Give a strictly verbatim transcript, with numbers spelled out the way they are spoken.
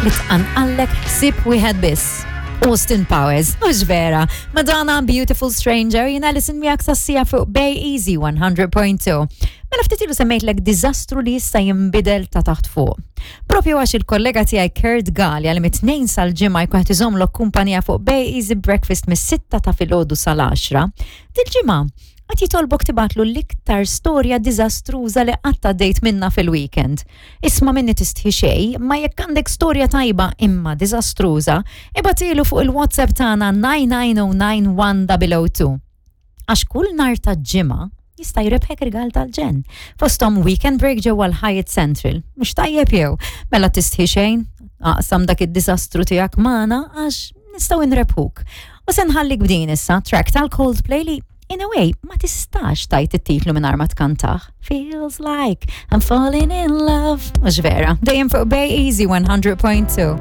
li tqanqallek ħsieb wieħed biss. Austin Powers, mhux vera. Madonna, Beautiful Stranger, jiena Alison miegħek sas-siegħa fuq Bay Easy one hundred point two. Mela ftit ilu semmejtlek diżastru li jista' jinbidel ta' taħt fuq. Propju għax il-kollega tiegħi Kurt Galea li mit-Tnejn sal-Ġimgħa jkun qed iżommlok kumpanija fuq Bay Easy Breakfast mis-sitta ta' filgħodu sal-għaxra, dil-ġimgħa qed jitolbok tibgħatlu l-iktar storja diżastruża li qatt għaddejt minna fil-weekend. Isma' minni, tistħi xejn, ma jekk għandek storja tajba imma diżastruża, ibgħathielu fuq il-WhatsApp tagħna nine nine zero nine one zero zero two. Għax kull nhar ta' Ġimgħa jista' jrebħek rigal tal-ġenn. Fostom weekend break ġewwa l-Hyatt Central. Mhux tajjeb jew? Mela tistħi xejn, aqsam dak id-diżastru tiegħek magħna għax nistgħu nrebħuk. U se nħallik b'din issa track tal-Coldplay li in a way ma tistax tgħid it-titlu minn ma tkantah. Feels like I'm falling in love. Mhux vera? Dejjem fuq Bay Easy one hundred point two.